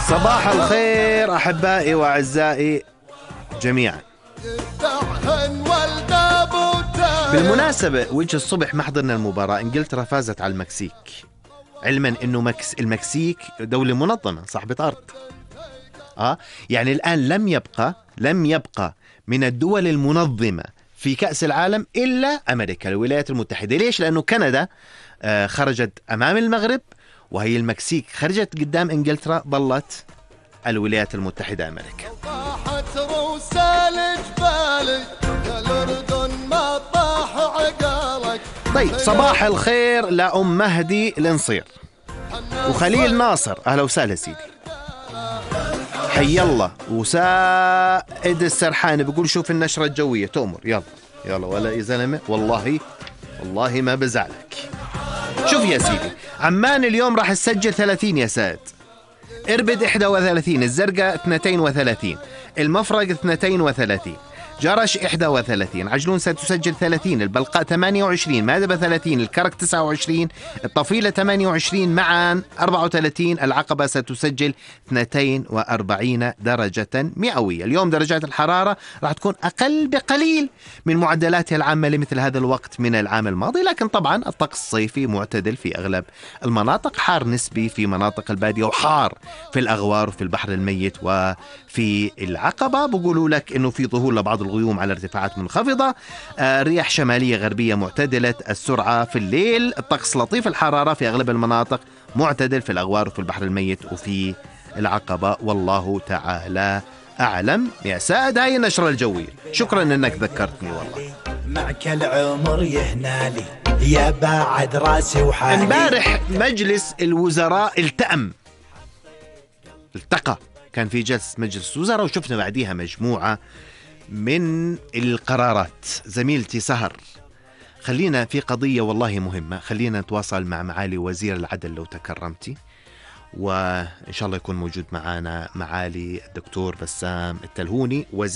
صباح الخير أحبائي وأعزائي جميعا. بالمناسبة وجه الصبح ما حضرنا المباراة، إنجلترا فازت على المكسيك، علما أنه المكسيك دولة منظمة صاحبة أرض. يعني الآن لم يبقى من الدول المنظمة في كأس العالم إلا أمريكا الولايات المتحدة. ليش؟ لأنه كندا خرجت أمام المغرب، وهي المكسيك خرجت قدام إنجلترا، ظلت الولايات المتحدة أمريكا. طيب صباح الخير لأم مهدي الانصير وخليل ناصر، أهلا وسهلا سيدي، حي الله. وسائد السرحان بيقول شوف النشرة الجوية تؤمر، يلا ولا يا زلمة، والله ما بزعلك. شوف يا سيدي، عمان اليوم راح تسجل 30 يا سائد، إربد 31، الزرقاء 32، المفرق 32، جرش 31، عجلون ستسجل 30، البلقاء 28، مادبة 30، الكرك 29، الطفيلة 28، معان 34، العقبة ستسجل 42 درجة مئوية. اليوم درجات الحرارة راح تكون أقل بقليل من معدلاتها العامة لمثل هذا الوقت من العام الماضي، لكن طبعا الطقس الصيفي معتدل في أغلب المناطق، حار نسبي في مناطق البادية، وحار في الأغوار وفي البحر الميت وفي العقبة. بقولوا لك إنه في ظهور لبعض الغيوم على ارتفاعات منخفضة، رياح شمالية غربية معتدلة السرعة في الليل، الطقس لطيف الحرارة في أغلب المناطق، معتدل في الأغوار وفي البحر الميت وفي العقبة، والله تعالى أعلم. يا سائد هاي النشرة الجوية، شكرا أنك ذكرتني والله. معك العمر يهنالي يا بعد راسي وحالي. امبارح مجلس الوزراء التقى، كان في جلسة مجلس الوزراء، وشفنا بعديها مجموعة من القرارات. زميلتي سهر، خلينا في قضية والله مهمة، خلينا نتواصل مع معالي وزير العدل لو تكرمتي، وإن شاء الله يكون موجود معنا معالي الدكتور بسام التلهوني وزير